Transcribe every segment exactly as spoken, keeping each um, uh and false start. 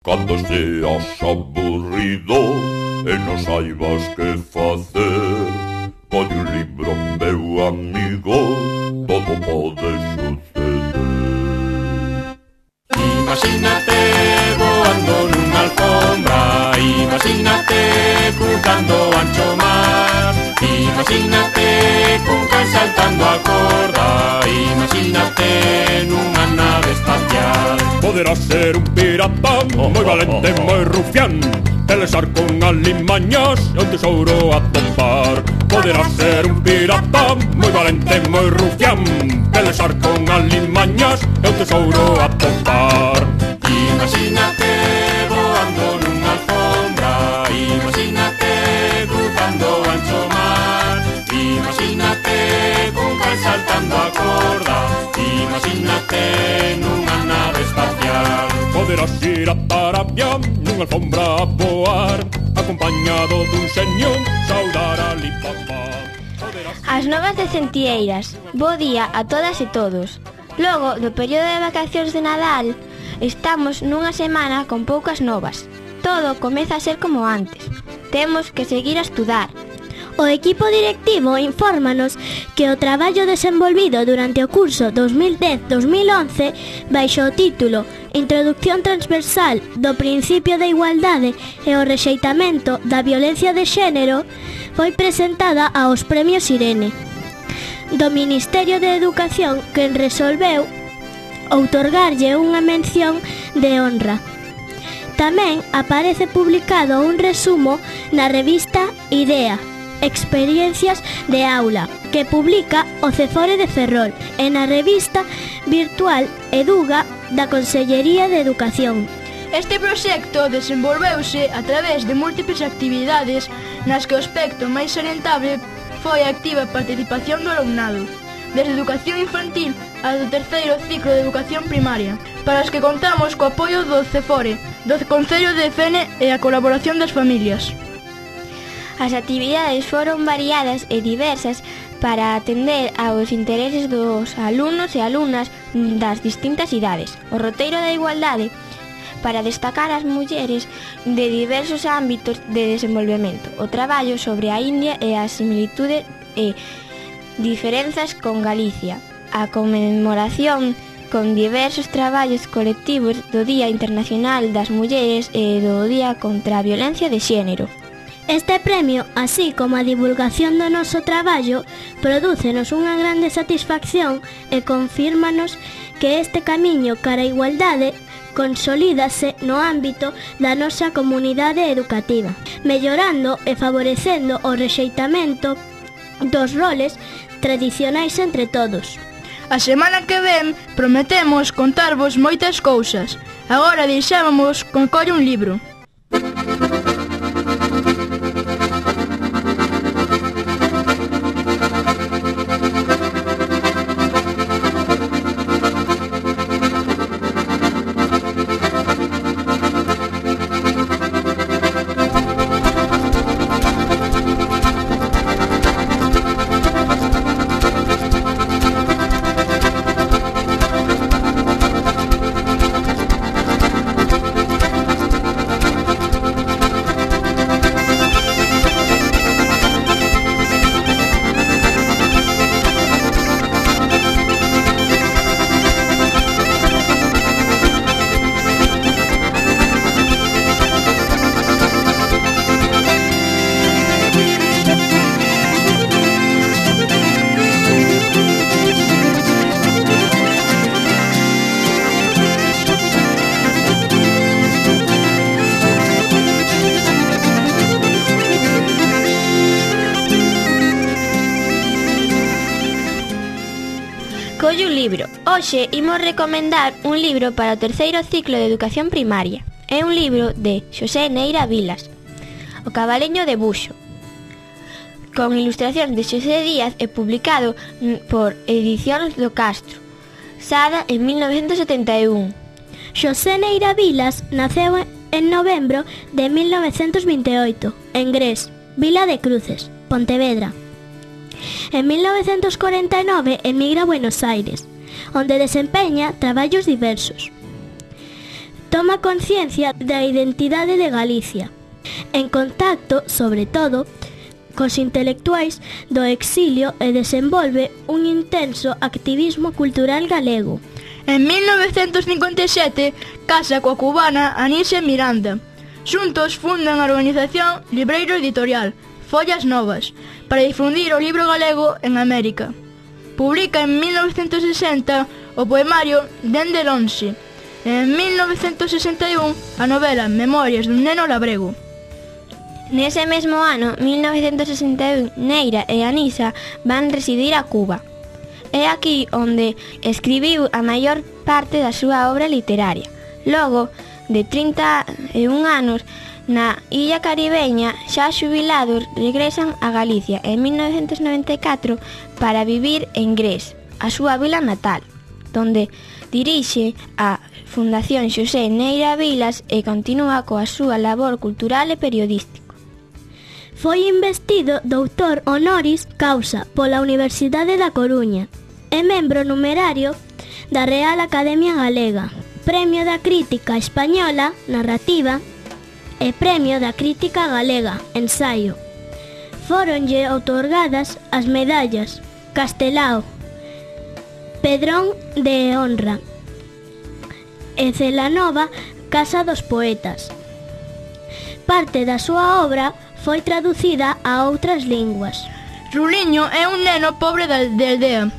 Cando seas aburrido e non saibas que facer, colle un libro, meu amigo, todo pode suceder. Imagínate voando nunha alfombra, imagínate cruzando o ancho mar, imagínate cun can saltando a corda, imagínate nunha nave espacial. Poderás ser un pirata moi valente, moi rufián, pelexar con alimañas e un tesouro a topar. Poderás ser un pirata moi valente, moi rufián, pelexar con alimañas e un tesouro a topar. Imagínate voando nunha alfombra, imagínate cruzando o ancho mar, imagínate cun can saltando a corda, imagínate nunha nave espacial. Poderás ir a Arabia nunha alfombra a voar, acompañado dun xenio, saudar a Alibaba. As novas de Centieiras. Bo día a todas e todos. Logo do período de vacacións de Nadal, estamos nunha semana con poucas novas. Todo comeza a ser como antes. Temos que seguir a estudar. O equipo directivo infórmanos que o traballo desenvolvido durante o curso dos mil dez dos mil once baixo o título Introducción transversal do principio da igualdade e o rexeitamento da violencia de xénero foi presentada aos premios Irene do Ministerio de Educación, quen resolveu outorgarlle unha mención de honra. Tamén aparece publicado un resumo na revista Idea, Experiencias de Aula, que publica o Cefore de Ferrol, e na revista virtual Eduga da Consellería de Educación. Este proxecto desenvolveuse a través de múltiples actividades nas que o aspecto máis salientable foi a activa participación do alumnado, desde educación infantil a do terceiro ciclo de educación primaria, para os que contamos co apoio do Cefore, do Concello de Fene e a colaboración das familias. As actividades foron variadas e diversas para atender aos intereses dos alumnos e alumnas das distintas idades. O roteiro da igualdade para destacar as mulleres de diversos ámbitos de desenvolvemento. O traballo sobre a India e as similitudes e diferenzas con Galicia. A conmemoración con diversos traballos colectivos do Día Internacional das Mulleres e do Día contra a Violencia de Xénero. Este premio, así como a divulgación do noso traballo, prodúcenos unha grande satisfacción e confírmanos que este camiño cara a igualdade consolídase no ámbito da nosa comunidade educativa, mellorando e favorecendo o rexeitamento dos roles tradicionais entre todos. A semana que ven prometemos contarvos moitas cousas. Agora deixábamos con colle un libro. Colle un libro. Hoxe imos recomendar un libro para o terceiro ciclo de educación primaria. É un libro de Xosé Neira Vilas, O cabaleño de Buxo, con ilustracións de Xosé Díaz e publicado por Edicións do Castro, Sada en mil novecentos setenta e un. Xosé Neira Vilas naceu en novembro de mil novecentos vinte e oito, en Gres, Vila de Cruces, Pontevedra. En mil novecentos cuarenta e nove emigra a Buenos Aires, onde desempeña traballos diversos. toma conciencia da identidade de Galicia, en contacto, sobre todo, cos intelectuais do exilio e desenvolve un intenso activismo cultural galego. En mil novecentos cincuenta e sete casa coa cubana Anisia Miranda. Xuntos fundan a organización Libreiro Editorial, Follas Novas, para difundir o libro galego en América. Publica en mil novecentos sesenta o poemario Dende Lonxe. En mil novecentos sesenta e un a novela Memorias dun neno labrego. Nese mesmo ano, mil novecentos sesenta e un, Neira e Anisa van residir a Cuba. É aquí onde escribiu a maior parte da súa obra literaria. Logo de trinta e un anos, na illa caribeña, xa xubilados, regresan a Galicia en mil novecentos noventa e catro para vivir en Gres, a súa vila natal, donde dirixe a Fundación Xosé Neira Vilas e continúa coa súa labor cultural e periodística. Foi investido doutor honoris causa pola Universidade da Coruña. É membro numerario da Real Academia Galega, Premio da Crítica Española, Narrativa e Premio da Crítica Galega, Ensaio. Fóronlle outorgadas as medallas Castelao, Pedrón de Honra e Celanova, Casa dos Poetas. Parte da súa obra foi traducida a outras linguas. Ruliño é un neno pobre de aldea.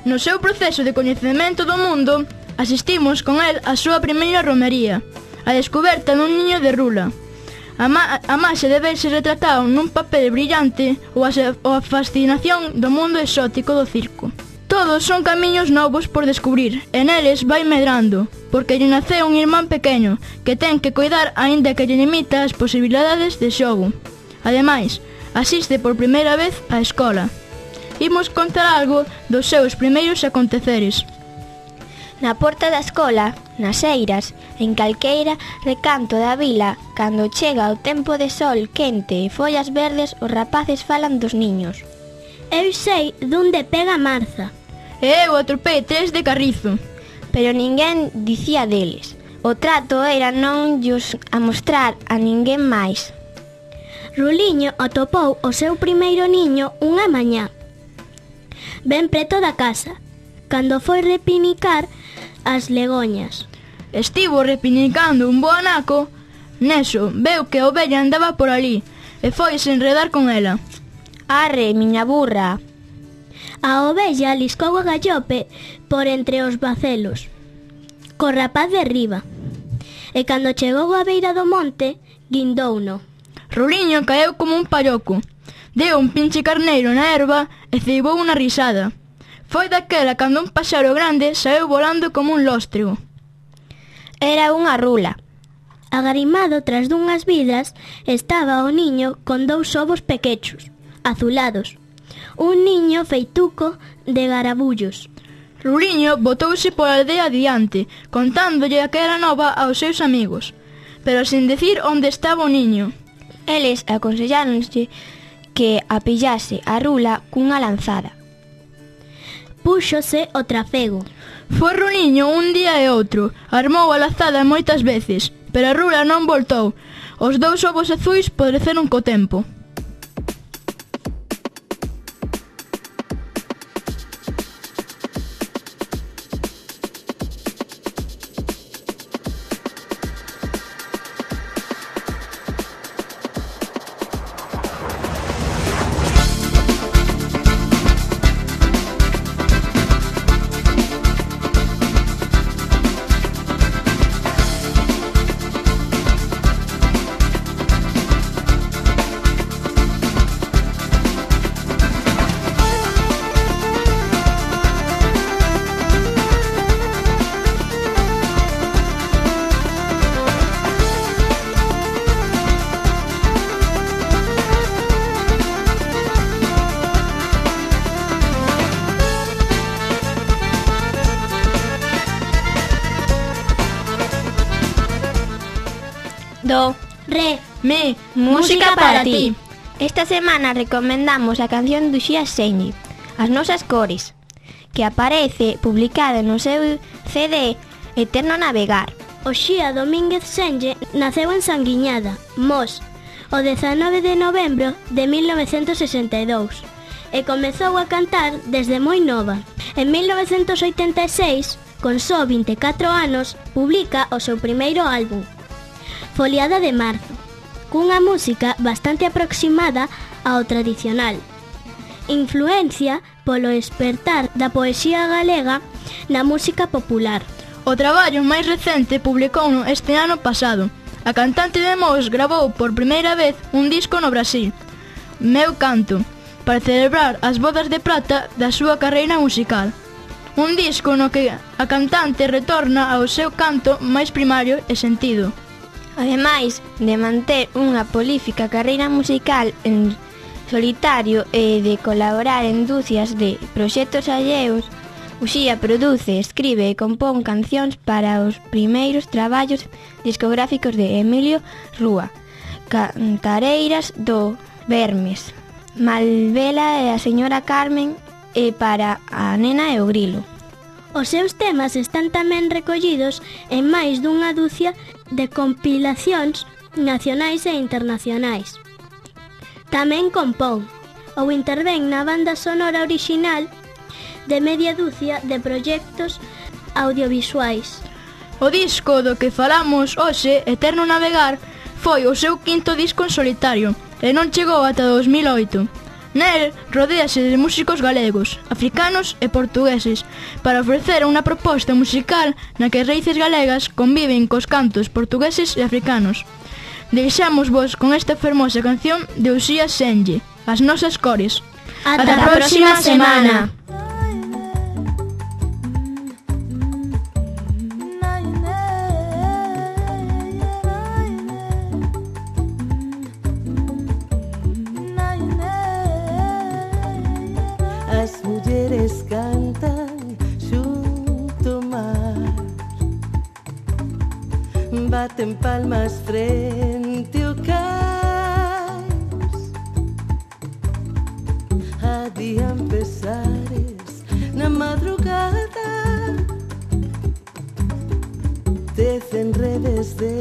No seu proceso de coñecemento do mundo, asistimos con el a súa primeira romería, a descoberta dun niño de rula. A, ma a máxe de verse retratado nun papel brillante ou a, ou a fascinación do mundo exótico do circo. Todos son camiños novos por descubrir, e neles vai medrando, porque lle naceu un irmán pequeno, que ten que coidar aínda que lle limita as posibilidades de xogo. Ademais, asiste por primeira vez á escola. Imos contar algo dos seus primeiros aconteceres. Na porta da escola, nas eiras, en calqueira recanto da vila, cando chega o tempo de sol quente e follas verdes, os rapaces falan dos niños. Eu sei dunde pega Marza. E eu atropei tres de carrizo. Pero ninguén dicía deles. O trato era non llos amostrar a ninguén máis. Ruliño atopou o seu primeiro niño unha mañá, ben preto da casa, cando foi repinicar as legoñas. Estivo repinicando un bo anaco. Neso, veu que a ovella andaba por ali e foise enredar con ela. Arre, miña burra. A ovella liscou a gallope por entre os bacelos, co rapaz de riba, e cando chegou á beira do monte, guindouno. Ruliño caeu como un palloco. Deu un pinche carneiro na erva e ceibou unha risada. Foi daquela cando un paxaro grande saeu volando como un lóstrego. Era unha rula. Agarimado tras dunhas vidras estaba o niño con dous ovos pequechos, azulados. Un niño feituco de garabullos. Ruliño botouse pola aldea adiante, contándolle aquela nova aos seus amigos, pero sin decir onde estaba o niño. Eles aconselláronse que a pillase a rula cunha lanzada. Púxose o trafego. Foi Ruliño un día e outro, armou a lazada moitas veces, pero a rula non voltou. Os dous ovos azuis podreceron co tempo. Do, Re, Mi, música para ti. Esta semana recomendamos a canción do Xía Señi, As nosas cores, que aparece publicada no seu C D Eterno Navegar. Oxía Domínguez Senlle naceu en Sanguiñada, Mos, o dezanove de novembro de mil novecentos sesenta e dous e comezou a cantar desde moi nova. En mil novecentos oitenta e seis, con só vinte e catro anos, publica o seu primeiro álbum, Foliada de Marzo, cunha música bastante aproximada ao tradicional. Influencia polo espertar da poesía galega na música popular. O traballo máis recente publicouno este ano pasado. A cantante de Mos gravou por primeira vez un disco no Brasil, Meu Canto, para celebrar as bodas de prata da súa carreira musical. Un disco no que a cantante retorna ao seu canto máis primario e sentido. Ademais de manter unha prolífica carreira musical en solitario e de colaborar en dúcias de proxectos alleos, Uxía produce, escribe e compón cancións para os primeiros traballos discográficos de Emilio Rúa, Cantareiras do Vermes, Malvela e a señora Carmen e para a nena e o grilo. Os seus temas están tamén recollidos en máis dunha dúcia de compilacións nacionais e internacionais. Tamén compón ou intervén na banda sonora orixinal de media dúcia de proxectos audiovisuais. O disco do que falamos hoxe, Eterno Navegar, foi o seu quinto disco en solitario e non chegou ata dos mil oito. Nel rodéase de músicos galegos, africanos e portugueses para ofrecer unha proposta musical na que as raíces galegas conviven cos cantos portugueses e africanos. Deixamos vos con esta fermosa canción de Uxía Senlle, As Nosas Cores. Ata a próxima semana. As mulleres cantan xunto ao mar, baten palmas frente ao cais, adían pesares na madrugada, tecen redes de